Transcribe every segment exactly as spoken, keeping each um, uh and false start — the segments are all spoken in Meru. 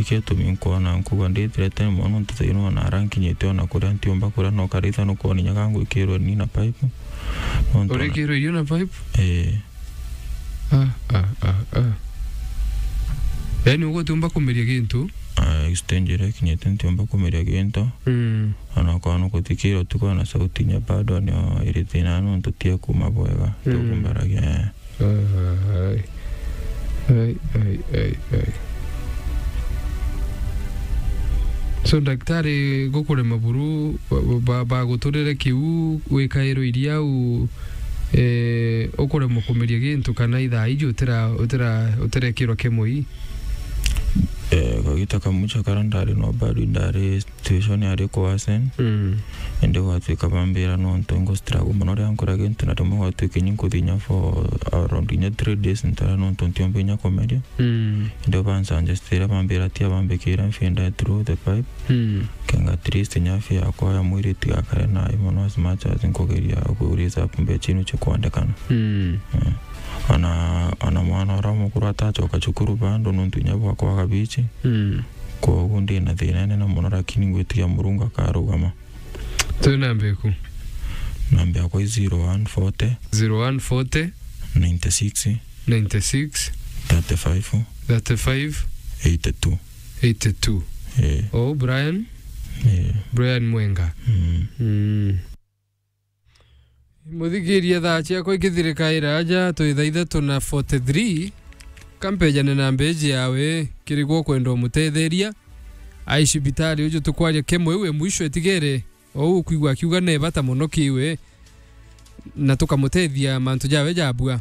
Kio tumi nkwona nkuga ndithirete mono, nontu thaino ona ara nkinyite ona kuria ntiumba kuria, no karitha nukwona inya gangwikirwe ni na pipe. Nontu ona urikirwe irio na pipe? Eh. Ah, ah, ah, ah. Yaani, ugutiumba kumeria gintu? Ah, stage iria ikinyite ntiumba kumeria gintu. Mm. Ona kwa nukuthikira utuku na sauti inya bado nio iri thina nontu tie kuma bwega. Mm. Tukumbaragia, eh. Ai, ai, ai, ai. So, daktari, gukurema buru, ba-, ba-, baguturire kiu, wikairwe iria u, eh, ukuremwa kumeria gintu, kana ithaa iji utira-, utira-, utirekirwa kemoi? Eh, kagita kamucha kara ndari no bado ndari situation yari kuwasen. Mm. Indi gwatuika bambira nontu ngu struggle mono ria nkura gintu, na rimwe gwatuika inya nkuthinya for around inya three days ntara nontu ntiumba inya kumeria. Mm. Indi bansuggestire bambira tia bambikire mfinda through the pipe. Mm. Kenga at least inya afya yakwa ya mwiri itigakare nayo mono as much as nkugeria ku raise up mbecha inu cia kwandikana. Mm. Mm. Ona, ona mwana uria mukuru atacoka cukuru bado nontu inya bwa kwaga bichi. Mm. Kwoguo ndi na thina inene mono, lakini ngwitikia Murungu akarugama. Twi namba iku? Namba yakwa i zero one forty. Zero one forty. Ninety six. Ninety six. Thirty five. Thirty five. Eighty two. Eighty two. Eh. Oh, Brian? Eh. Brian Mwenga. Mm. Mm. Muthikiria, thaa ciakwa ikithirikaira aja, twi thaa ithatu na forty three. Kampejane na mbeji yawe, kiri gwo kwenda umutetheria. Ai cibitari uju tukwaria kemo iu e mwisho itigere. Ou ukwigua akiuga ne bata mono kiwe, na tukamutethia mantu jawe jabua.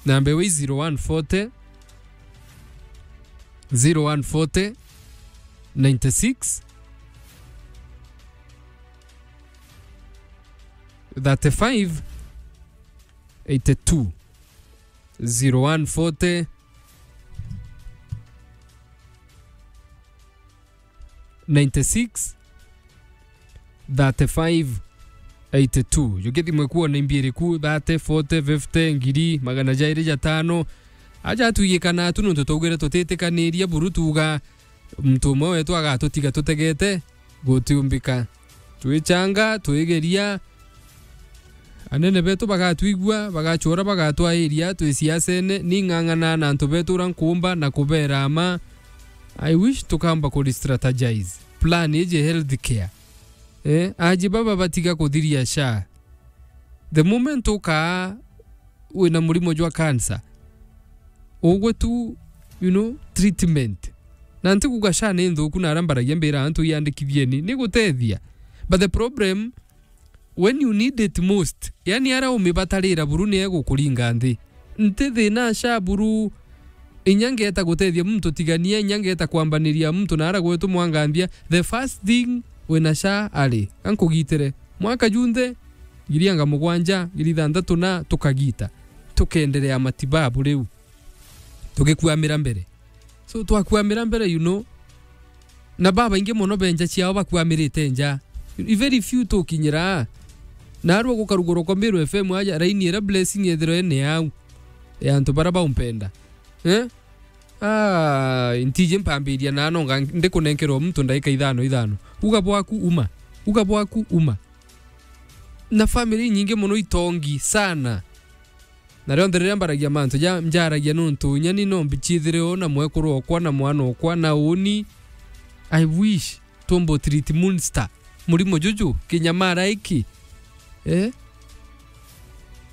Namba iwe i zero one forty, zero one forty, ninety six, thirty five, eighty two. Zero one forty, ninety six, thirty five, eighty two. Jukithimwe kuona imbiiri ku thirty, forty, fifty, ngiri, magana jairi jatano. Aja atwigikana tu nontu twaugire tutitikaniria buru tuga muntu umwe wetu agatutiga tutegete, gutiumbika. Twichanga, twigeria, anene betu bagatwigua, bagachora, bagatwairia, twi siasene, ning'ang'ana na antu betu uria nkuumba na kubera ama. I wish tukamba ku strategize plan iji health care. Eh, aji baba batiga kuthiria SHA. The moment ukaa wina murimo jwa cancer, ugwe tu, you know, treatment. Na ntikuga SHA ni nthuku, na aria mbaragia mbira antu iandikithieni, ni gutethia. But the problem, when you need it most, yani aria umibatarira buru ni egukuringa nthi. Nti thina SHA buru, inya ngeta gutethia muntu tigania, inya ngeta kwambaniria muntu na ara gwetu mwanganthia. The first thing wina SHA ari, ankugitire. Mwaka junthe, ngiri anga mugwanja, ngiri ithanthatu na tukagita. Tukenderea matibabu riu. Tugikwamira mbere. So, twakwamira mbere, you know, na babaingi mono benja ciao bakwamirite nja. I very few tukinyira. Na arua gukarugurwa kwa Meru F M aja, raini ira Blessing ethirwe ene au. Ya antu bara baumpenda. Eh? Ah, ntiji mpambiria na nonga ndikunenkerwa muntu ndaika ithano ithano. Uga bwaku uma. Uga bwaku uma. Na family nyingi mono itongi sana. Na rionthe riria mbaragia mantu ja, njaragia nontu inya ni no mbichithire o na mwekuru okwa na mwana okwa na uni. I wish tumbo treat monster. Murimo juju, kinyamara iki. Eh?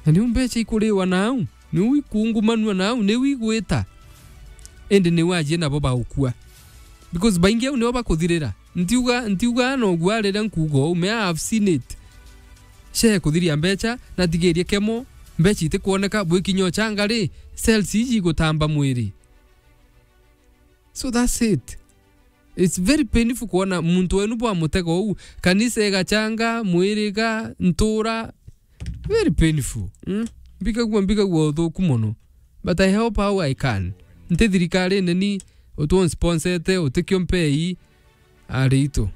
Na niu mbecha ikuriwa nau, niu ikungumanua nau, niu igwita. Indi niu ajie nabo baukua. Because baingi au nio bakuthirira. Ntiuga, ntiuga no gwa riria nkuuga uu, me I have seen it. She kuthiria mbecha, na thigirie kemo, mbecha itikwoneka, bwikinya uchanga ri, cells iji igutamba mwiri. So that's it. It's very painful kuona muntu wenu bwa mutego uu, kanisa igachanga, mwiriga, ntura, very painful. Mm? Mbigagua, mbigagua uthuku mono. But I help how I can. Nti thirikari neni, utwo nsponsete, utikio mpei, ari itu.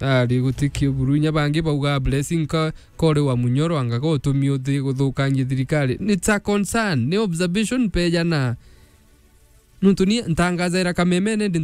Ari gutikio buru inya bangi bauga Blessing ka, kori wa munyoro anga ka utumi uthi guthukangia thirikari. It's a concern, ni observation pejana. Nuntu ni ntangazaira kamemene ndi